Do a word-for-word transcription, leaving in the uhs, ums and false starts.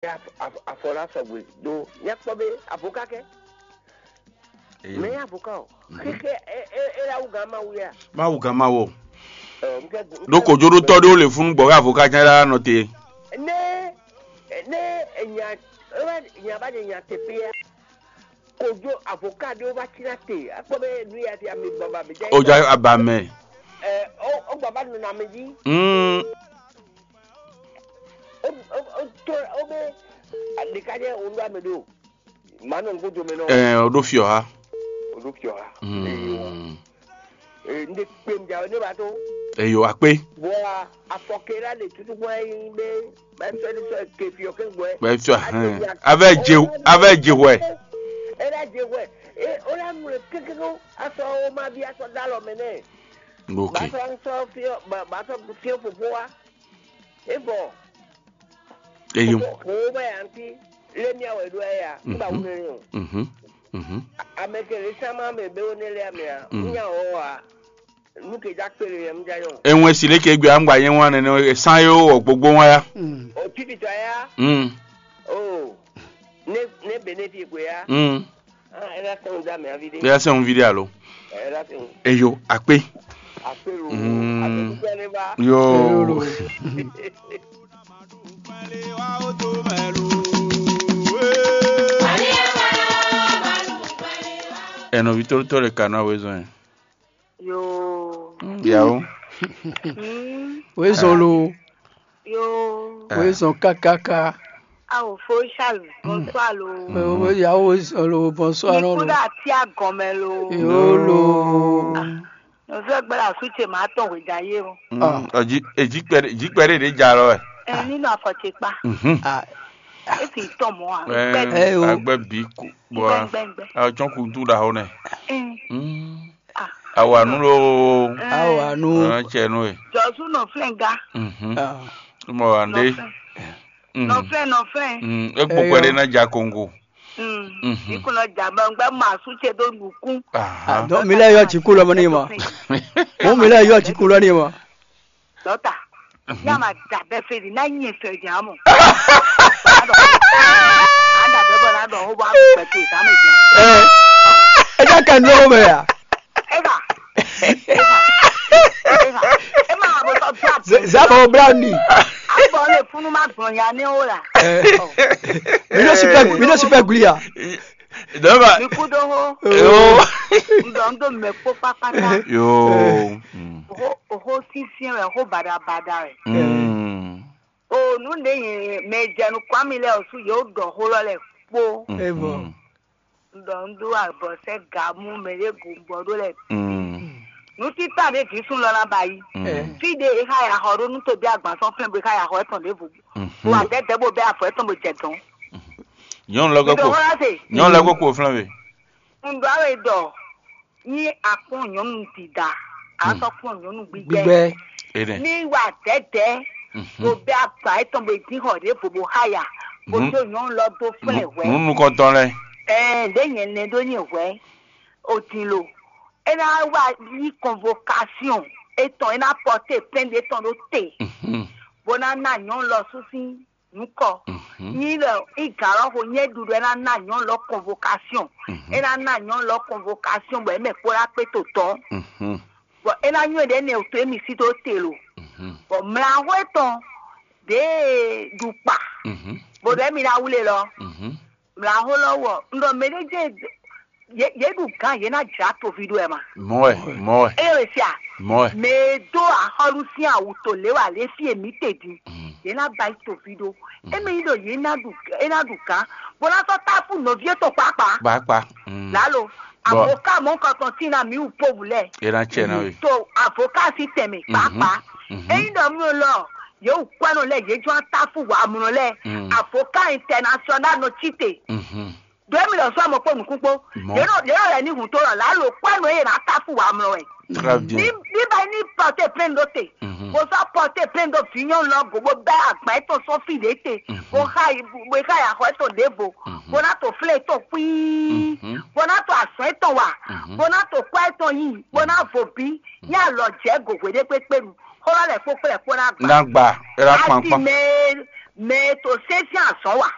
Afɔlá sɔgbe ɖó nyakpɔ bé avocat kɛ. Mɛ avocat o. Keke e e e la wuga ma wuya. Mawu gán ma wɔ. Ɖó kojoɖótɔ́ ɖé ó lè fún gbɔ̌ avocat ján ɖá nɔ te. Ne ne nya nya ba de nya te pia. Kojo avocat ɖé ó va tina te. Akpɔ be nu ya ti ami baba be jɛ. Ó já aba mɛ. Ɛ ó ó gbaba nɔ na mi jí. Mm. Ó ó ó tó ó be. Ɖeka jɛ ó ɖo ame ɖo. Mano nkudo mi nɔ. Ɛ o ɖo fiɔ ha. O ɖo fiɔ ha. Mm. Ee, n de kpe n jawe ne ba to. Eyo akpe. Bɔ afɔkela le tutu bɔ yin be bɛ fɛ ni sɔ ke fiɔ ke gbɔ. Bɛ fiɔ hɛn. Avɛ je avɛ je wɛ. Ela je wɛ. E o la nu le kekeko asɔ o ma bi asɔ dalɔ mɛ nɛ. Ok. Ba sɔ sɔ fiɔ ba ba sɔ fiɔ popo wa. E bɔ. Eyo. Ko ba ya nti le mi awɛ do ya. Ba wune ni o. Mhm. Mhm. Ame ke le sama me be o ne le amia. Nya o wa. Nu ke ja kpele yɛ mu ja yɔ. Enwɛ si le ke gbe angba yɛ wan nene e san yo o gbogbo wan ya. O titi tɔ ya. Mm. O ne ne benefit ko ya. Mm. Ah, ela sɛn da mi avi de. Bia sɛn un vide alo. Ela sɛn. Eyo akpe. Akpelo. Mm. Akpelo ne ba. Yo. Eno vitolo tole kana wezɔn. Yo. Yawo. Mm. Wezɔn lo. Yo. Wezɔn kakaka. Awo fo Charles, bonsoir lo. Yawo wezɔn lo, bonsoir non lo. Nikuda ti agɔnmɛ lo. Yo lo. Nɔfɛ gbɛlɛ asu ce ma tɔn hwe da ye o. Ɔ ji eji kpɛ eji kpɛ de de ja lɔ wɛ. Ɛ nínú afɔ ce kpa. Mhm. Ah, E fi tɔn mɔ a. Ɛ Gbɛ. Agbɛ bi ku bɔ Gbɛ gbɛ gbɛ. A tsɔn kutu da hɔ nɛ. Ɛ. Mm. Ah. Awanu lo. Awanu. Ɛ tsɛ nu e. Jɔsu nɔ flɛn ga. Mhm. Ah. Mɔ wa nde. Nɔ flɛn. Mm. Nɔ flɛn nɔ flɛn. Mm. E gbɔ kwɛ de na ja kongo. Mm. Mhm. Ikunɔ ja bɔ n gbɛ ma su ce do nukun. Aha. Ah, donc mi lɛ yɔ jikun lɔ mɔ ni mɔ. Mo mi lɛ yɔ jikun lɔ ni mɔ. Dɔta, ya ma da bɛ fe di na nyɛ fɛ di amɔ. Ada bɛ bɔ na dɔ ho ba bɛ fe sa mi jɛ. Ɛ ɛ ja kan lo mɛ ya. Eva. Eva. Eva. Ema abo tɔ dua. Zaba o browni. Abɔ le funu ma gbɔn ya ne o la. Mi no super mi no super glia. Dɔba. Mi kú dó hó. Yo. N dɔ n dó mɛ kpó kpákpátá. Yo. Oho oho sínsín wɛ, oho badabada wɛ. Mm. O nu ɖe yin mɛ jɛnu kwami lɛ osu yɛ o dɔ ho lɔ lɛ kpó. Evɔ. N dɔ n dó abɔ sɛ ga mú mɛ ɖe gun gbɔ ɖó lɛ. Mm. Nu títà ɖe jǐsún lɔ ná ba yí. Mm. Fí ɖe e xa ya xɔ ɖó nú tobi agban sɔn flɛn bo e xa ya xɔ etɔn ɖěvo. Mhm. Bo adɛdɛ bo bɛ afɔ etɔn bo jɛ dɔn. Nyɔnu lɛ kɔkɔ. Nyɔnu lɛ kɔkɔ flɛn we. Un ɖɔ awe ɖɔ ní akpɔn nyɔnu dida, a sɔ kpɔn nyɔnu gbígbɛ. Gbígbɛ. Ene. Ní wa dɛdɛ, bo bɛ agba etɔn bo dín xɔ ɖě bo bo haya, bo dó nyɔnu lɔ dó flɛn hwɛ. Nunu kɔntɔn lɛ. Ɛɛ, ɖě nyɛ nɛ ɖó nyɛ hwɛ, o din lo. É ná wá yí convocation etɔn, é ná porter plainte etɔn ɖó te, bó ná ná nyɔnu lɔ sú sín nukɔ. Nyi lɔ igalɔ xo nyɛ ɖuɖu é ná ná nyɔnu lɔ convocation. É ná ná nyɔnu lɔ convocation bɔ é mɛ kpó ná kpé to tɔn. Bɔ é ná nywɛ ɖe nɛ to émi sí tó te lo. Bɔ mlǎxó etɔn ɖě ɖu kpa. Bó ɖɔ émi ná wlé lɔ. Mlǎxó lɔ wɔ un ɖɔ mɛ ɖé jẹ́ yě yě ɖu gǎn yě ná jlǎ toví ɖó ɛ ma. Mɔɛ, mɔɛ, Eye wɛ sia, mɔɛ. Mɛ e dó axɔ́lú sín awu to lě wà lě fí e mǐ te din, yě ná ba yi toví ɖó. Émí nyí ɖɔ yě ná ɖu é ná ɖu gǎn, bó ná sɔ́ táfú nɔví étɔn kpákpá. Kpakpa. Lalo, avoka mɔ̌kɔtɔn tín ná mǐ wú povu lɛ́ɛ. É ná tsɛ ná we. To avoka sín tɛnmɛ kpákpá. Ényí ɖɔ mí lɔ yě wú kwɛ́nɔ lɛ́ɛ yě jɔ́n táfú wǎmlɔ lɛ́ɛ. Avoka international nɔ cí te. Ɖo émi lɔ sɔ́ mɔ kpó nǔkún kpó. Yě nɔ yě nɔ lɛ ní hùn tó lɔ lǎ lo kpó ɛnú eye nǎ táfú wǎ mlɔ wɛ. Très bien. Ní ní bá ní pɔtɛ plɛ́n ɖó te. Bó sɔ́ pɔtɛ plɛ́n ɖó vǐ nyɔnu lɔ go bó bɛ́ agban étɔn sɔ́ fí ɖě te. Bó xa yi bó xa yi axɔ étɔn ɖěvo. Bó ná to flɛ́ étɔn kpíí. Bó ná to azɔ̌ étɔn wa. Bó ná to kpɔ́ étɔn yí. Bó ná vo bí. Ní alɔ jɛ go hweɖé kpékpé nu. Xó lɔ lɛ kpó kplɛ kpó ná gba. Ná gba. É ná kpankpan. Asi mɛ mɛ e to sɛ́n sín azɔ̌ wa.